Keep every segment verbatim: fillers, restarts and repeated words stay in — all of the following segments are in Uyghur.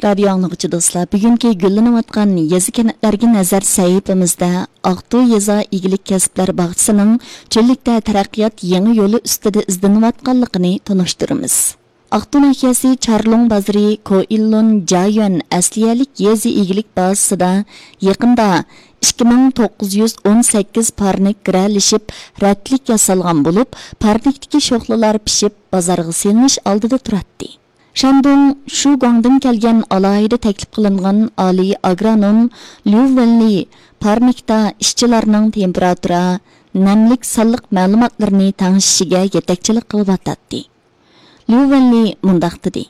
رادىيو ئاڭلىغۇچى دوستلار، بۈگۈنكى گۈللىنىۋاتقان يېزا كەنتلەرگە نەزەر سەھىپىمىزدە ئاقتۇ يېزا ئىگىلىك كەسىپلەر باغچىسىنىڭ چۆللۈكتە تەرەققىيات يېڭى يولى ئۈستىدە ئىزدىنىۋاتقانلىقىنى تونۇشتۇرىمىز. ئاقتۇ ناھىيەسى چارلۇڭ بازىرى كوئىللۇن جايۈەن ئەسلىھەلىك يېزا ئىگىلىك بازىسىدا يېقىندا ئىككى مىڭ توققۇز يۈز ئون سەككىز پارنىك گىرەلىشىپ رەتلىك ياسالغان بولۇپ، پارنىكتىكى شوخلىلار پىشىپ بازارغا سېلىنىش ئالدىدا تۇراتتى. شاندۇڭ شۇگۇاڭدىن كەلگەن ئالاھىدە تەكلىپ قىلىنغان ئالىي ئاگرونوم ليۇ ۋېنلى پارنىكتا ئىشچىلارنىڭ تېمپېراتۇرا، نەملىك سانلىق مەلۇماتلىرىنى تەڭشىشىگە يېتەكچىلىك قىلىۋاتاتتى. ليۇ ۋېنلى مۇنداق دېدى: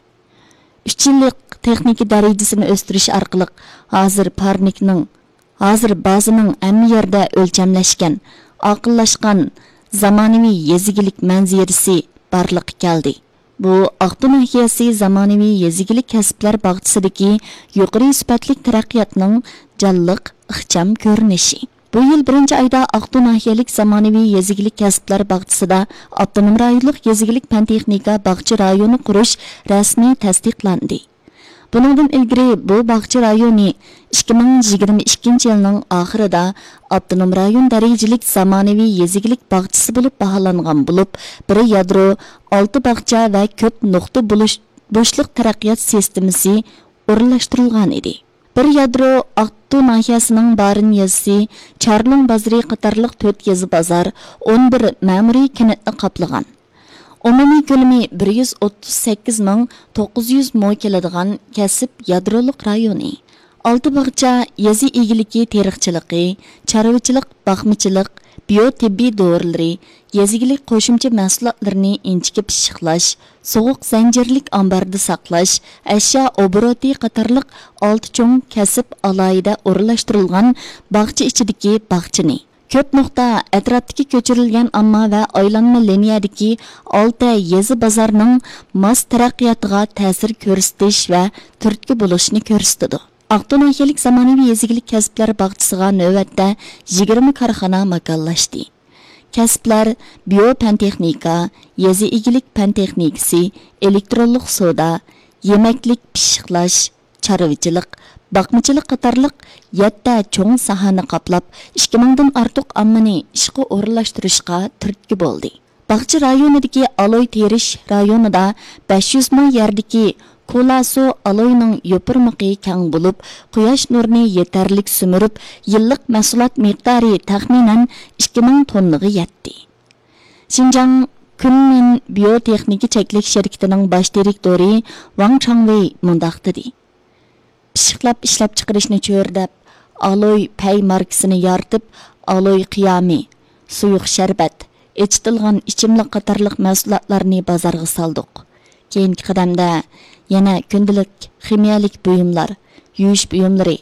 «ئۈچ يىللىق تېخنىكا دەرىجىسىنى ئۆستۈرۈش ئارقىلىق ھازىر پارنىكنىڭ، ھازىر بازىنىڭ ھەممە يەردە ئۆلچەملەشكەن، ئاقىللاشقان، زامانىۋى يېزا ئىگىلىك مەنزىرىسى بارلىققا كەلدى. بۇ ئاقتۇ ناھىيەسى زامانىۋى يېزا ئىگىلىك كەسىپلەر باغچىسىدىكى يۇقىرى سۈپەتلىك تەرەققىياتنىڭ جانلىق، ئىخچام كۆرۈنۈشى.» بۇ يىل بىرىنچى ئايدا ئاقتۇ ناھىيەلىك زامانىۋى يېزا ئىگىلىك كەسىپلەر باغچىسىدا ئاپتونوم رايونلۇق يېزا ئىگىلىك پەن تېخنىكا باغچە رايونى قۇرۇش رەسمىي تەستىقلاندى. بۇنىڭدىن ئىلگىرى بۇ باغچە رايونى ئىككى مىڭ يىگىرمە ئىككىنچى يىلنىڭ ئاخىرىدا ئاپتونوم رايون دەرىجىلىك زامانىۋى يېزا ئىگىلىك باغچىسى بولۇپ باھالانغان بولۇپ، بىر يادرو، ئالتە باغچە ۋە كۆپ نۇقتا بولۇش، بوشلۇق تەرەققىيات سىستېمىسى ئورۇنلاشتۇرۇلغان ئىدى. بىر يادرو ئاقتۇ ناھىيەسىنىڭ بارىن يېزىسى، چارلۇڭ بازىرى قاتارلىق تۆت يېزا بازار، ئون بىر مەمۇرىي كەنتنى قاپلىغان. ئومۇمىي كۆلىمى بىر يۈز ئوتتۇز سەككىز مىڭ توققۇز يۈز مو كېلىدىغان كەسىپ يادرولۇق رايونى. ئالتە باغچە يېزا ئىگىلىكى تېرىقچىلىقى، چارۋىچىلىق، باقمىچىلىق، بىيو تېببىي دورىلىرى، يېزا ئىگىلىك قوشۇمچە مەھسۇلاتلىرىنى ئىنچىكە پىششىقلاش، سوغۇق زەنجىرلىك ئامباردا ساقلاش، ئەشيا ئوبوروتى قاتارلىق ئالتە چوڭ كەسىپ ئالاھىدە ئورۇنلاشتۇرۇلغان باغچە ئىچىدىكى باغچىنى، كۆپ نۇقتا ئەتراپتىكى كۆچۈرۈلگەن ئامما ۋە ئايلانما لىنىيەدىكى ئالتە يېزا بازارنىڭ ماس تەرەققىياتىغا تەسىر كۆرسىتىش ۋە تۈرتكە بولۇشنى كۆرسىتىدۇ. ئاقتۇ ناھىيەلىك زامانىۋى يېزا ئىگىلىك كەسىپلەر باغچىسىغا نۆۋەتتە يىگىرمە كارخانا ماكانلاشتى. كەسىپلەر بىيو پەن تېخنىكا، يېزا ئىگىلىك پەن تېخنىكىسى، ئېلېكترونلۇق سودا، يېمەكلىك پىششىقلاش، چارۋىچىلىق، باقمىچىلىق قاتارلىق يەتتە چوڭ ساھەنى قاپلاپ، ئىككى مىڭدىن ئارتۇق ئاممىنى ئىشقا ئورۇنلاشتۇرۇشقا تۈرتكە بولدى. باغچە رايونىدىكى ئالوي تېرىش رايونىدا بەش يۈز مو يەردىكى كولاسو ئالوينىڭ يوپۇرمىقى كەڭ بولۇپ، قۇياش نۇرىنى يېتەرلىك سۈمۈرۈپ، يىللىق مەھسۇلات مىقدارى تەخمىنەن ئىككى مىڭ توننىغا يەتتى. شىنجاڭ كۈنمىن بىيو تېخنىكا چەكلىك شىركىتىنىڭ باش دىرېكتورى ۋاڭ چاڭۋېي مۇنداق دېدى: «پىششىقلاپ ئىشلەپچىقىرىشنى چۆرىدەپ، ئالوي پەي ماركىسىنى يارىتىپ، ئالوي قىيامى، سۇيۇق شەربەت، ئېچىتىلغان ئىچىملىك قاتارلىق مەھسۇلاتلارنى بازارغا سالدۇق. كېيىنكى قەدەمدە يەنە كۈندىلىك خىمىيەلىك بۇيۇملار، يۇيۇش بۇيۇملىرى،